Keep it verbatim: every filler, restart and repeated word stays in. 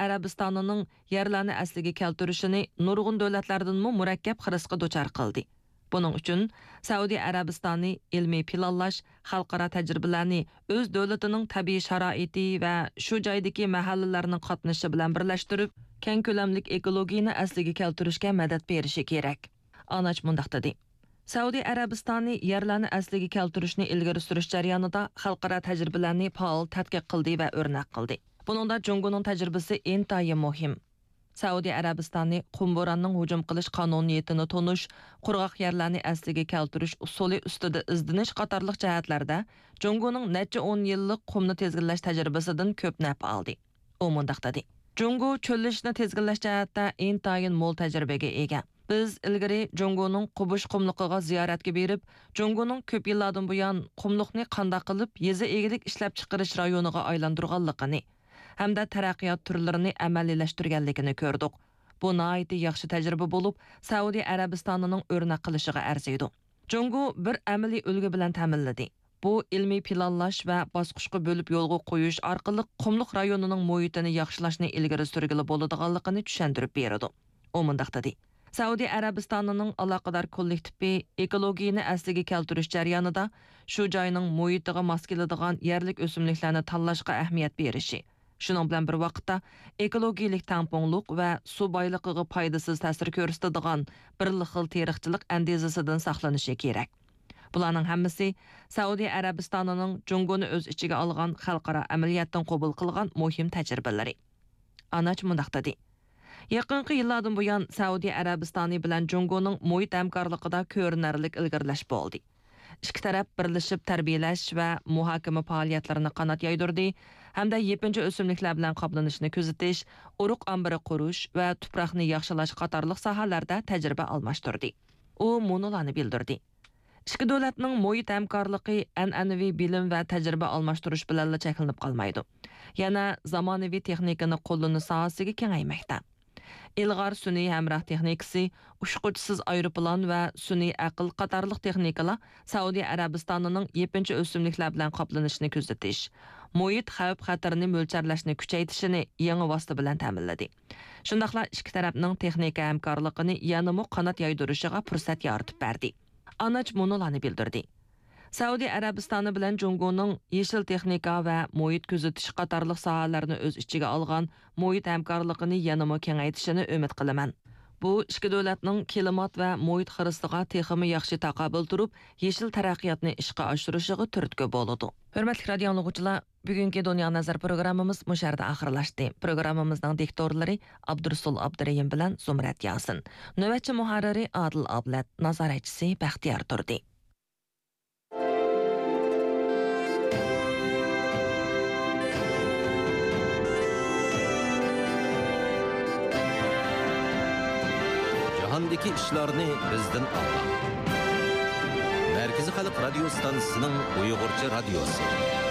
ئەرەبىستانىنىڭ يەرلەرنى ئەسلىگە كەلتۈرۈشىنى نۇرغۇن دۆلەتلەردىنمۇ مۇرەككەپ خىرىسقا دۇچار قىلدى. بۇنىڭ ئۈچۈن سەئۇدى ئەرەبىستانى ئىلمىي پىلانلاش، خەلقئارا تەجرىبىلەرنى ئۆز دۆلىتىنىڭ تەبىئىي شارائىتى ۋە شۇ جايدىكى مەھەللىلەرنىڭ قاتنىشىشى بىلەن بىرلەشتۈرۈپ، كەڭ كۆلەملىك ئېكولوگىيىنى ئەسلىگە كەلتۈرۈشكە مەدەت بېرىشى كېرەك. ئاناچ مۇنداق دېدى: سەئۇدى ئەرەبىستانى يەرلەرنى ئەسلىگە كەلتۈرۈشنى ئىلگىرى سۈرۈش جەريانىدا خەلقئارا تەجرىبىلەرنى پائال تەتقىق قىلدى ۋە ئۆرنەك قىلدى. بۇنىڭدا جۇڭگونىڭ تەجرىبىسى ئىنتايىن مۇھىم. سەئۇدى ئەرەبىستانى قۇم بوراننىڭ ھۇجۇم قىلىش قانۇنىيىتىنى تونۇش، قۇرغاق يەرلەرنى ئەسلىگە كەلتۈرۈش ئۇسۇلى ئۈستىدە ئىزدىنىش قاتارلىق جەھەتلەردە جۇڭگونىڭ نەچچە ئون يىللىق قۇمنى تىزگىنلەش تەجرىبىسىدىن كۆپ نەپ ئالدى. ئۇ مۇنداق دېدى: جۇڭگو چۆللىشىشنى تىزگىنلەش جەھەتتە ئىنتايىن مول تەجرىبىگە ئىگە. بىز ئىلگىرى جۇڭگونىڭ قوبۇش قۇملۇقىغا زىيارەتكە بېرىپ، جۇڭگونىڭ كۆپ يىللاردىن بۇيان قۇملۇقنى قانداق قىلىپ يېزا ئىگىلىك ئىشلەپچىقىرىش رايونىغا ئايلاندۇرغانلىقىنى، ھەمدە تەرەققىيات تۈرلىرىنى ئەمەلىيلەشتۈرگەنلىكىنى كۆردۇق. بۇ ناھايىتى ياخشى تەجرىبە بولۇپ، سەئۇدى ئەرەبىستانىنىڭ ئۆرنەك قىلىشىغا ئەرزىيدۇ. جۇڭگو بىر ئەمەلىي ئۈلگە بىلەن تەمىنلىدى. بۇ ئىلمىي پىلانلاش ۋە باسقۇچقا بۆلۈپ يولغا قويۇش ئارقىلىق قۇملۇق رايونىنىڭ مۇھىتىنى ياخشىلاشنى ئىلگىرى سۈرگىلى بولىدىغانلىقىنى چۈشەندۈرۈپ بېرىدۇ. ئۇ مۇنداق دېدى: سەئۇدى ئەرەبىستانىنىڭ ئالاقىدار كوللېكتىپى ئېكولوگىيىنى ئەسلىگە كەلتۈرۈش جەريانىدا شۇ جاينىڭ مۇھىتىغا ماس كېلىدىغان يەرلىك ئۆسۈملۈكلەرنى تاللاشقا ئەھمىيەت بېرىشى، شۇنىڭ بىلەن بىر ۋاقىتتا ئېكولوگىيىلىك تەڭپۇڭلۇق ۋە سۇ بايلىقىغا پايدىسىز تەسىر كۆرسىتىدىغان بىرلا خىل تېرىقچىلىق ئەندىزىسىدىن ساقلىنىشى كېرەك. بۇلارنىڭ ھەممىسى سەئۇدى ئەرەبىستانىنىڭ جۇڭگونى ئۆز ئىچىگە ئالغان خەلقئارا ئەمەلىيەتتىن قوبۇل قىلغان مۇھىم تەجرىبىلىرى. ئاناچ مۇنداق دېدى: يېقىنقى يىللاردىن بۇيان سەئۇدى ئەرەبىستانى بىلەن جۇڭگونىڭ مۇھىت ھەمكارلىقىدا كۆرۈنەرلىك ئىلگىرىلەش بولدى. ئىككى تەرەپ بىرلىشىپ تەربىيەلەش ۋە مۇھاكىمە پائالىيەتلىرىنى قانات يايدۇردى ھەمدە يېپىنچا ئۆسۈملۈكلەر بىلەن قاپلىنىشنى كۆزىتىش، ئۇرۇق ئامبىرى قۇرۇش ۋە تۇپراقنى ياخشىلاش قاتارلىق ساھەلەردە تەجرىبە ئالماشتۇردى. ئۇ مۇنۇلارنى بىلدۈردى: ئىككى دۆلەتنىڭ مۇھىت ھەمكارلىقى ئەنئەنىۋى بىلىم ۋە تەجرىبە ئالماشتۇرۇش بىلەنلا چەكلىنىپ قالمايدۇ. يەنە زامانىۋى تېخنىكىنى قوللىنىش ساھەسىگە كېڭەيمەكتە. ئىلغار سۈنئىي ھەمراھ تېخنىكىسى، ئۇچقۇچىسىز ئايروپىلان ۋە سۈنئىي ئەقىل قاتارلىق تېخنىكىلار سەئۇدى ئەرەبىستانىنىڭ يېپىنچا ئۆسۈملۈكلەر بىلەن قاپلىنىشنى كۆزىتىش، مۇھىت خەۋپ-خەتىرىنى مۆلچەرلەشنى كۈچەيتىشىنى يېڭى ۋاسىتە بىلەن تەمىنلىدى. شۇنداقلا ئىككى تەرەپنىڭ تېخنىكا ھەمكارلىقىنى يەنىمۇ قانات يايدۇرۇشىغا پۇرسەت يارىتىپ بەردى. ئاناچ مۇنۇلارنى بىلدۈردى: سەئۇدى ئەرەبىستانى بىلەن جۇڭگونىڭ يېشىل تېخنىكا ۋە مۇھىت كۆزىتىش قاتارلىق ساھەلەرنى ئۆز ئىچىگە ئالغان مۇھىت ھەمكارلىقىنى يەنىمۇ كېڭەيتىشىنى ئۈمىد قىلىمەن. بۇ ئىككى دۆلەتنىڭ كىلىمات ۋە مۇھىت خىرىسىغا تېخىمۇ ياخشى تاقابىل تۇرۇپ، يېشىل تەرەققىياتنى ئىشقا ئاشۇرۇشىغا تۈرتكە بولىدۇ. ھۆرمەتلىك رادىئو ئاڭلىغۇچىلار، بۈگۈنكى دۇنيا نەزەر پروگراممىمىز مۇشۇ يەردە ئاخىرلاشتى. پروگراممىمىزنىڭ دىكتورلىرى ئابدۇرۇسۇل ئابدۇرېھىم بىلەن زۇمرەت ياسىن. نۆۋەتچى مۇھەررىرى ئادىل ئابلەت، نازارەتچىسى بەختىيار تۇردى. جاھاندىكى ئىشلارنى بىزدىن ئاڭلاڭ. مەركىزىي خەلق رادىيو ستانسىسىنىڭ ئۇيغۇرچە رادىيوسى.